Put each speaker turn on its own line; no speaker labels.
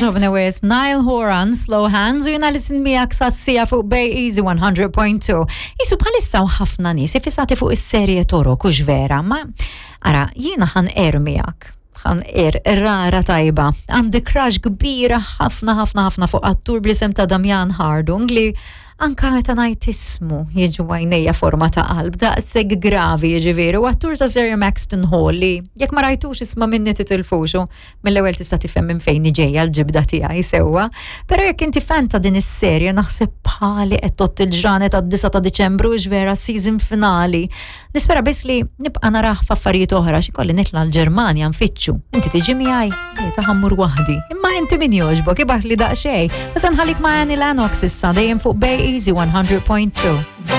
ħafna wis Niall Horan, Slow Hands, u jena lisin miegħek sassija fuq Bay Easy 100.2. Isu bħalissa u ħafna nies ifissati fuq is-serje Toro kux vera, ma ara jiena ħan er miegħek ħan er rara tajba. Għandi crush kbira ħafna ħafna ħafna fuq attur bl-isem ta' Damian Hardung li anka meta ngħid ismu jiġu għajnejja forma ta' qalb daqshekk gravi jiġifieri u attur ta' Sir Maxton Hall li jekk ma rajtux isma' minni titilfuxu mill-ewwel tista' tifhem minn fejn ġejja l-ġibda tiegħi sewwa. Però jekk inti fan ta' din is-serje naħseb bħali qed tott il-ġranet għad-9 ta' Diċembru vera season finali. Nispera biss li nibqa' narah f'affarijiet oħra xi kolli nitla' l-Ġermanja nfittxu. Inti tiġi miegħi? Le ta' ħammur waħdi. Imma inti min jogħġbok ibgħat li daqsxejn. Issa nħallik ma' Annie Lennox issa dejjem fuq Bay Easy 100.2.